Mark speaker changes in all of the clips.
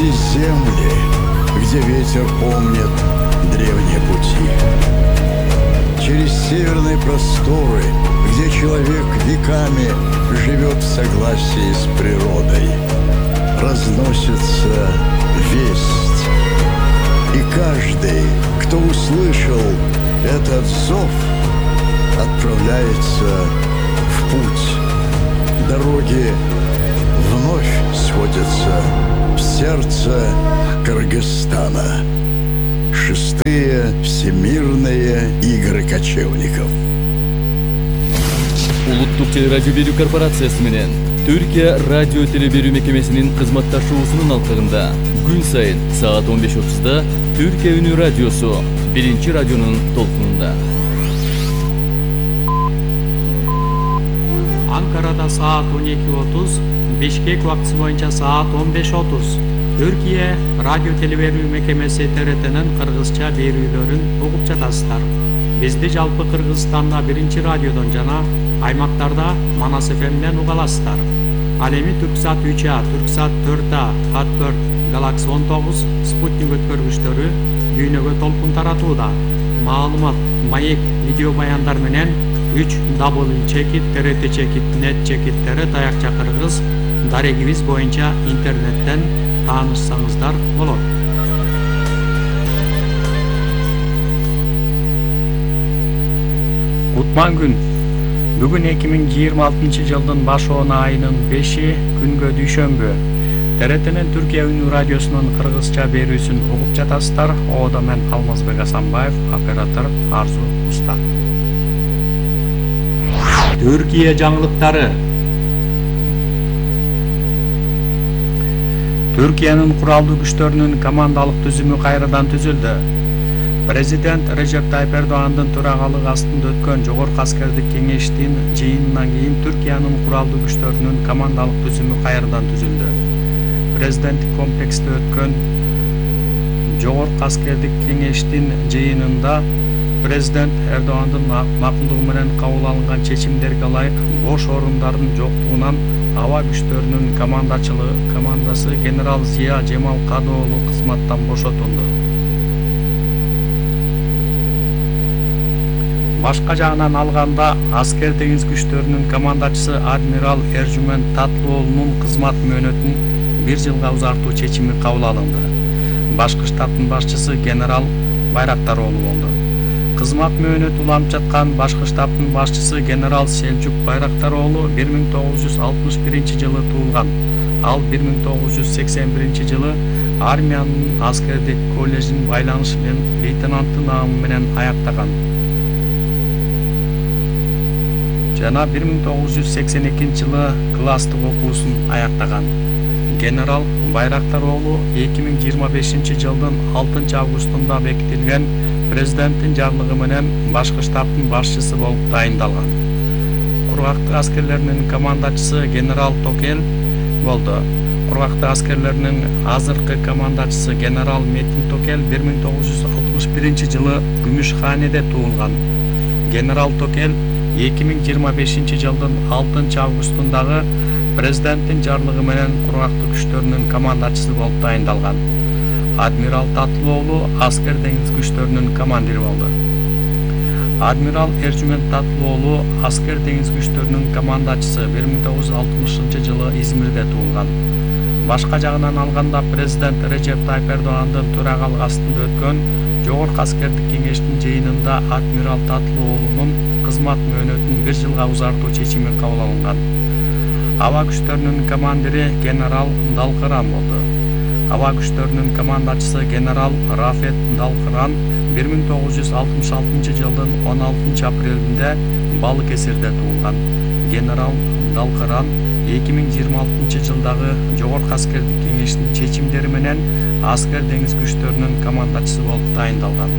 Speaker 1: эти земли, где ветер помнит древние пути. Через северные просторы, где человек веками живет в согласии с природой, разносится весть. И каждый, кто услышал этот зов, отправляется в путь. Дороги вновь сходятся в сердце Кыргызстана. Шестые всемирные игры кочевников.
Speaker 2: Улуттук телерадио берүү корпорациясы менен Түркия радио телеберүү мекемесинин кызматташуусунун алкагында күн сайын саат 15:30 Түркия үнү радиосу биринчи радионун толкунунда.
Speaker 3: Анкарада саат 12:30, Бишкек убактысы боюнча саат 15:30. Түркия радио телеберүү мекемеси ТРТнын кыргызча берүүлөрүн угуп жатасыздар. Бизди жалпы Кыргызстанда биринчи радиодон жана аймактарда Манас ФМден уга аласыздар. Ал эми Түрксат 3А, Түрксат 4А, Хат4, Галакси 19, Спутник өткөргүчтөрү дүйнөгө толкун таратууда. Маалымат, маек, видео баяндар менен 3w.trt.net таякча кыргыз дарегибиз боюнча интернеттен таанышсаңыздар болот. Кутман күн. Бүгүн 2026 жылдын башоона айынын 5-и күнгө дүйшөмбү. ТРТнин Түркия үнү радиосунун кыргызча берүүсүн угуп жатасыздар. Оодо мен Алмазбек Асанбаев, оператор Арзу Уста. Түркия жаңылыктары. Түркиянын куралдуу күчтөрүнүн командалык түзүмү кайрадан түзүлдү. Президент Режеп Тайып Эрдогандын төрагалыгы астында өткөн Жогорку аскердик кеңештин жыйынынан кийин Түркиянын куралдуу күчтөрүнүн командалык түзүмү кайрадан түзүлдү. Президенттик комплексте өткөн Жогорку аскердик кеңештин жыйынында президент Эрдогандын макулдугу менен кабыл алынган чечимдерге ылайык бош орундардын жоктугунан аба күчтөрүнүн командасы генерал Зия Жемал Кадыоğlu кызматтан бошотулду. Башка жагынан алганда, аскер деңиз күчтөрүнүн командачысы адмирал Эржүмөн Татлыоğlu'нун кызмат мөөнөтүн 1 жылга узартуу чечими кабыл алынды. Башкы штабтын башчысы генерал Байрактароğlu болду. Кызмат мөөнөт уланып жаткан башкы штабтын башчысы генерал Селжук Байрактароğlu 1961 жылы туулган. Ал 1981 жылы армиянын аскердик коллежин байланыш лейтенанты наамы менен аяктаган. Жана 1982 жылы класстык окуусун аяктаган. Генерал Байрактароğlu 2025 жылдын 6 августунда бекитилген президенттин жарлыгы менен башкы штабтын башчысы болуп дайындалган. Кургактык аскерлеринин командачысы генерал Токел болду. Кургактык аскерлеринин азыркы командачысы генерал Метин Токел 1961 жылы Күмүшханеде туулган. Генерал Токел 2025 жылдын 6 августундагы президенттин жарлыгы менен кургактык күчтөрүнүн командачысы болуп дайындалган. Адмирал Татлыоğlu аскер деңиз күчтөрүнүн командири болду. Адмирал Эржүмөн Татлыоğlu аскер деңиз күчтөрүнүн командачысы 1960 жылы Измирде туулган. Башка жагынан алганда президент Режеп Тайып Эрдогандын төрагалыгы астында өткөн Жогорку аскердик кеңештин жыйынында адмирал Татлыоğlu'нун кызмат мөөнөтүн 1 жылга узартуу чечими кабыл алынган. Аба күчтөрүнүн командири генерал Далкыран болду. Аба күчтөрүнүн командачысы генерал Рафет Далкыран 1966 жылдын 16 апрелинде Балыкесирде туулган. Генерал Далкыран 2026 жылдагы Жогорку аскердик кеңештин чечимдери менен аскер деңиз күчтөрүнүн командачысы болуп дайындалган.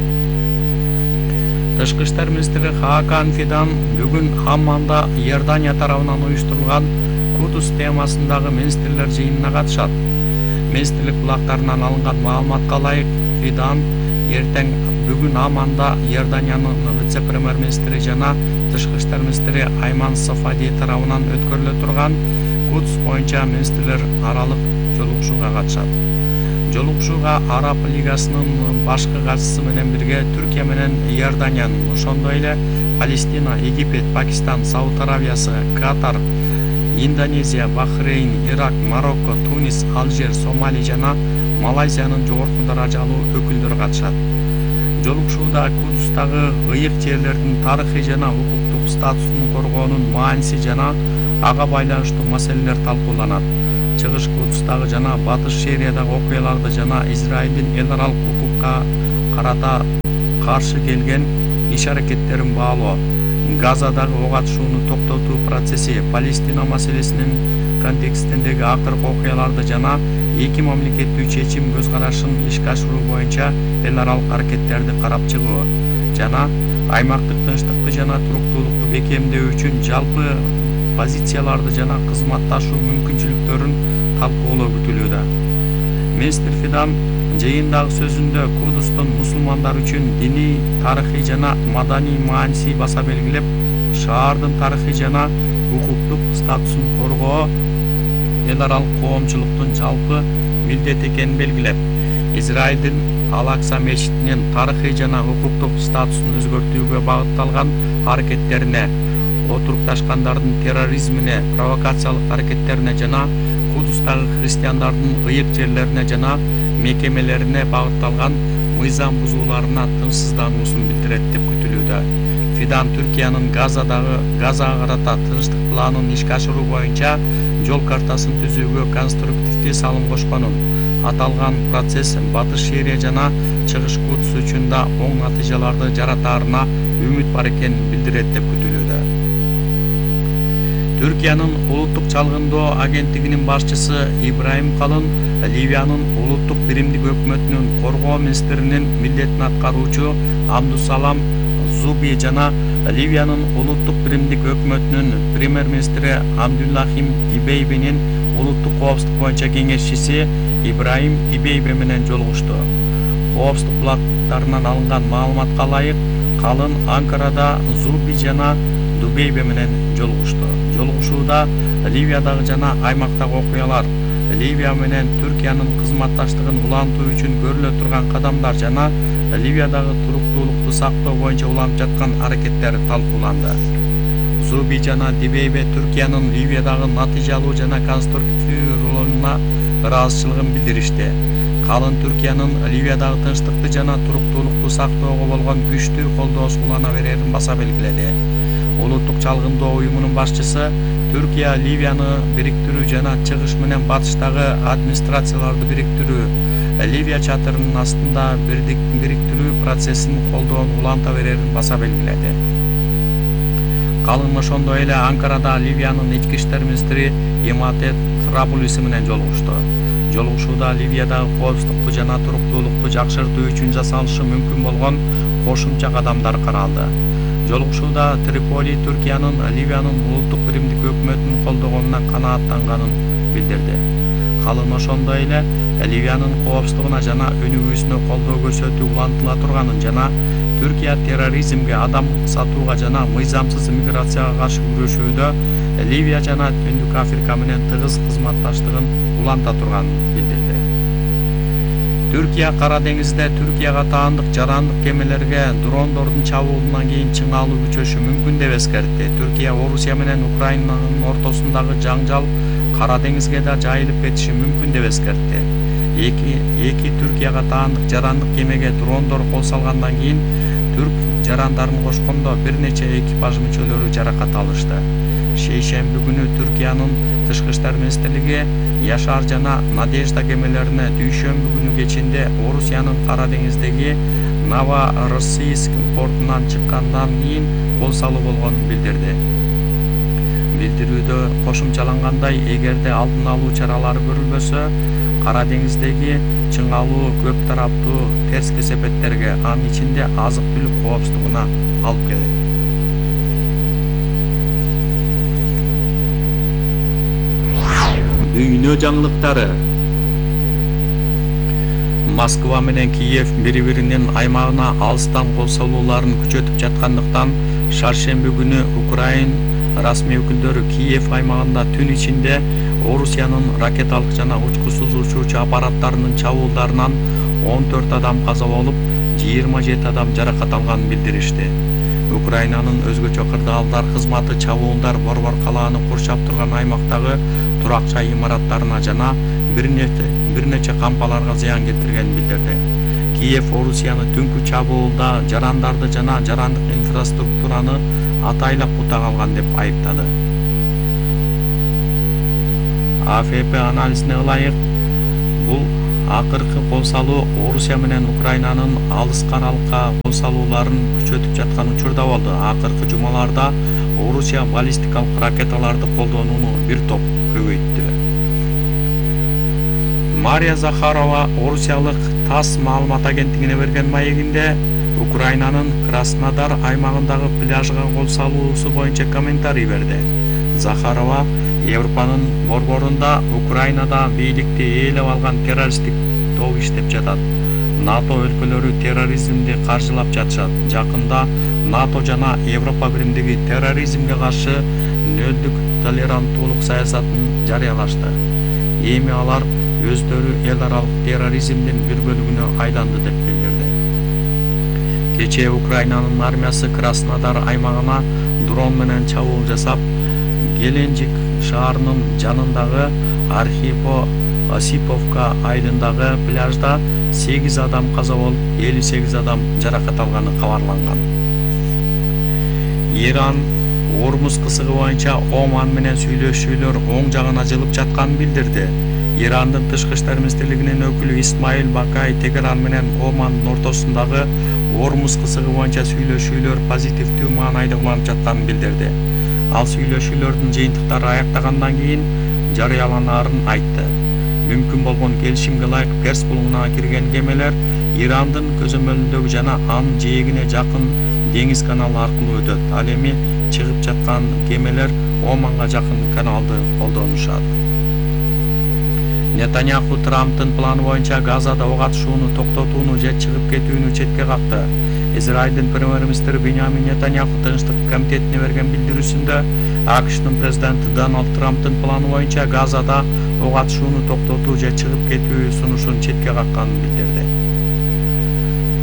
Speaker 3: Тышкы иштер министри Хакан Фидан бүгүн Амманда Иордания тарабынан уюштурулган Кудус темасындагы министрлер жыйынына катышат. Министрлик булактарынан алынган маалыматка ылайык Фидан эртең бүгүн Амманда Иорданиянын вице-премьер-министри жана тышкы иштер министри Айман Сафади тарабынан өткөрүлө турган Кудус боюнча министрлер аралык жолугушууга катышат. Жолугушууга Араб Лигасынын башкы катчысы менен бирге Түркия менен Иорданиянын, ошондой эле Палестина, Египет, Пакистан, Сауд Аравиясы, Катар, Индонезия, Бахрейн, Ирак, Марокко, Тунис, Алжир, Сомали жана Малайзиянын жогорку даражалуу өкүлдөрү катышат. Жолугушууда Кудустагы ыйык жерлердин тарыхый жана укуктук статусун коргоонун мааниси жана ага байланыштуу маселелер талкууланат. Чыгыш Кудустагы жана Батыш Шериядагы окуяларды жана Израилдин эл аралык укукка карата каршы келген иш-аракеттерин баалоо, Газадагы ок атышууну токтотуу процесси, Палестина маселесинин контекстиндеги акыркы окуяларды жана эки мамлекеттүү чечим көз карашын ишке ашыруу боюнча эл аралык аракеттерди карап чыгуу жана аймактык тынчтыкты жана туруктуулукту бекемдөө үчүн жалпы позицияларды жана кызматташуу мүмкүнчүлүктөрүн талкуулоо күтүлүүдө. Министр Фидан жыйындагы сөзүндө Кудустун мусулмандар үчүн диний, тарыхый жана маданий мааниси баса белгилеп, шаардын тарыхый жана укуктук статусун коргоо эл аралык коомчулуктун жалпы милдети экенин белгилеп, Израилдин Ал-Акса мечитинин тарыхый жана укуктук статусун өзгөртүүгө багытталган аракеттерине, отурукташкандардын терроризмине, провокациялык аракеттерине жана Кудустагы христиандардын ыйык жерлерине жана мекемелерине багытталган мыйзам бузууларына тынчсыздануусун билдирет деп күтүлүүдө. Фидан Түркиянын Газага карата тынчтык планын ишке ашыруу боюнча жол картасын түзүүгө конструктивдүү салым кошконун, аталган процесс Батыш Шерия жана Чыгыш Кудус үчүн да оң натыйжаларды жаратаарына үмүт бар экенин билдирет деп күтүлүүдө. Түркиянын улуттук чалгындоо агенттигинин башчысы Ибраим Калын Ливиянын улуттук биримдик өкмөтүнүн коргоо министринин милдетин аткаруучу Абдусалам Зуби жана Ливиянын улуттук биримдик өкмөтүнүн премьер-министри Абдуллахим Дибейбенин улуттук коопсуздук боюнча кеңешчиси Ибраим Дибейбе менен жолугушту. Коопсуздук булактарынан алынган маалыматка ылайык, Калын Анкарада Зуби жана Дубейбе менен жолугушту. Жолугушууда Ливиядагы жана аймактагы окуялар, Ливия менен Түркиянын кызматташтыгын улантуу үчүн көрүлө турган кадамдар жана Ливиядагы туруктуулукту сактоо боюнча уланып жаткан аракеттер талкууланды. Зуби жана Дибейбе Түркиянын Ливиядагы натыйжалуу жана конструктивдүү ролуна ыраазычылыгын билдиришти. Калын Түркиянын Ливиядагы тынчтыкты жана туруктуулукту сактоого болгон күчтүү колдоосу улана берерин баса белгиледи. Улуттук чалгындоо уюмунун башчысы Түркия Ливияны бириктирүү жана чыгыш менен батыштагы администрацияларды бириктирүү, Ливия чатырынын астында бириктирүү процессин колдоону уланта берерин баса белгиледи. Калын ошондой эле Анкарада Ливиянын ички иштер министри Имате Трабулиси менен жолугушту. Жолугушууда Ливиядагы коопсуздукту жана туруктуулукту жакшыртуу үчүн жасалышы мүмкүн болгон кошумча кадамдар каралды. Жолугушууда Триполи Түркиянын Ливиянын улуттук биримдик өкмөтүн колдогонуна канааттанганын билдирди. Калын ошондой эле Ливиянын коопсуздугуна жана өнүгүүсүнө колдоо көрсөтүү улантыла турганын жана Түркия терроризмге, адам сатууга жана мыйзамсыз миграцияга каршы күрөшүүдө Ливия жана Түндүк Африка менен тыгыз кызматташтыгын уланта турганын билдирди. Түркия Кара деңизде Түркияга таандык жарандык кемелерге дрондордун чабуулунан кийин чыңалуу күчөшү мүмкүн деп эскертти. Түркия Орусия менен Украинанын ортосундагы жаңжал Кара деңизге да жайылып кетиши мүмкүн деп эскертти. Эки Түркияга таандык жарандык кемеге дрондор кол салгандан кийин түрк жарандарын кошкондо бир нече экипаж мүчөлөрү жаракат алышты. Шейшемби күнү Түркиянын Тышкы иштер министрлиги Яшар жана Надежда кемелерине дүйшөмбү күнү кечинде Орусиянын Кара деңиздеги Новороссийск портунан чыккандан кийин кол салуу болгонун билдирди. Билдирүүдө кошумчалангандай, эгерде алдын алуу чаралары көрүлбөсө, Кара деңиздеги чыңалуу көп тараптуу терс кесепеттерге, анын ичинде азык-түлүк коопсуздугуна алып келет. Дүйнө жаңылыктары. Москва менен Киев бири-биринин аймагына алыстан кол салууларын күчөтүп жаткандыктан, шаршемби күнү Украин расмий өкүлдөрү Киев аймагында түн ичинде Орусиянын ракеталык жана учкучсуз учуучу аппараттарынын чабуулдарынан 14 адам каза болуп, 27 адам жаракат алганын билдиришти. Украинанын өзгөчө кырдаалдар кызматы чабуулдар борбор калааны курчап турган аймактагы турак жай имараттарына жана бир нече кампаларга зыян келтиргенин билдирди. Киев Орусияны түнкү чабуулда жарандарды жана жарандык инфраструктураны атайлап бутак алган деп айыптады. АФП анализине ылайык, бул акыркы кол салуу Орусия менен Украинанын алыскы аралыкка кол салууларын күчөтүп жаткан учурда болду. Акыркы жумаларда Орусия баллистикалык ракеталарды колдонууну бир топ көбөйттү. Мария Захарова орусиялык ТАСС маалымат агенттигине берген маегинде Украинанын Краснодар аймагындагы пляжга кол салуусу боюнча комментарий берди. Захарова Европанын борборунда Украинада бийликти ээлеп алган террористтик топ иштеп жатат. НАТО өлкөлөрү терроризмди каржылап жатышат. Жакында НАТО жана Европа биримдиги терроризмге каршы нөлдүк толеранттуулук саясатын жарыялашты. Эми алар өздөрү эл аралык терроризмдин бир бөлүгүнө айланды деп билдирди. Кечээ Украинанын армиясы Краснодар аймагына дрон менен чабуул жасап, Геленджик шаарынын жанындагы Архипо-Осиповка айылындагы пляжда 8 адам каза болуп, 58 адам жаракат алганы кабарланган. Иран Ормуз кысыгы боюнча Оман менен сүйлөшүүлөр оң жагына жылып жатканын билдирди. Ирандын тышкы иштер министрлигинин өкүлү Исмаил Бакай Тегеран менен Омандын ортосундагы Ормуз кысыгы боюнча сүйлөшүүлөр позитивдүү маанайда уланып жатканын билдирди. Ал сүйлөшүүлөрдүн жыйынтыктары аяктагандан кийин жарыяланаарын айтты. Мүмкүн болгон келишимге ылайык Перс булугуна кирген кемелер Ирандын көзөмөлүндөгү жана анын жээгине жакын деңиз каналы аркылуу өтөт. Ал эми чыгып жаткан кемелер Оманга жакын каналды колдонушат. Нетаньяху Трамптын планы боюнча Газада ок атышууну токтотууну же чыгып кетүүнү четке какты. Израилдин премьер-министри Биньямин Нетаньяху Тынчтык комитетине берген билдирүүсүндө АКШнын президенти Дональд Трамптын планы боюнча Газада ок атышууну токтотуу же чыгып кетүү сунушун четке какканын билдирди.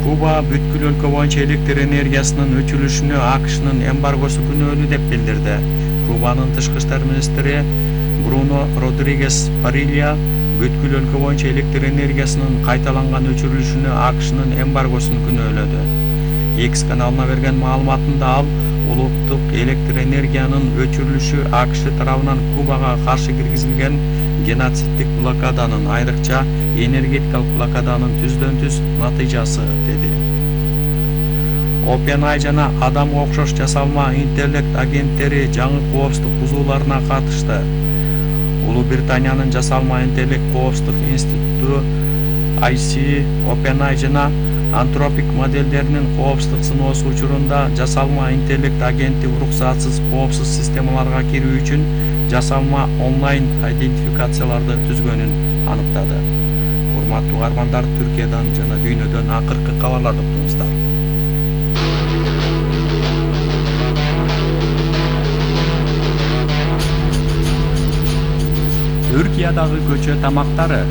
Speaker 3: Куба бүткүл өлкө боюнча электр энергиясынын өчүрүлүшүнө АКШнын эмбаргосу күнөөлүү деп билдирди. Кубанын тышкы иштер министри Бруно Родригес Парилья бүткүл өлкө боюнча электр энергиясынын кайталанган өчүрүлүшүнө АКШнын эмбаргосун күнөөлөдү. X каналына берген маалыматында ал улуттук электр энергиянын өчүрүлүшү АКШ тарабынан Кубага каршы киргизилген геноциддик блокаданын, айрыкча энергетикалык блокаданын түздөн-түз натыйжасы деди. OpenAI жана адамга окшош жасалма интеллект агенттери жаңы коопсуздук бузууларына катышты. Улуу Британиянын жасалма интеллект коопсуздук институту IC, OpenAI жана Anthropic моделдеринин коопсуздук сыноосу учурунда жасалма интеллект агенти уруксатсыз коопсуз системаларга кирүү үчүн жасалма онлайн идентификацияларды түзгөнүн аныктады. Урматтуу угармандар, Түркиядан жана дүйнөдөн акыркы кабарларды уктуңуздар. Түркиядагы көчө тамактары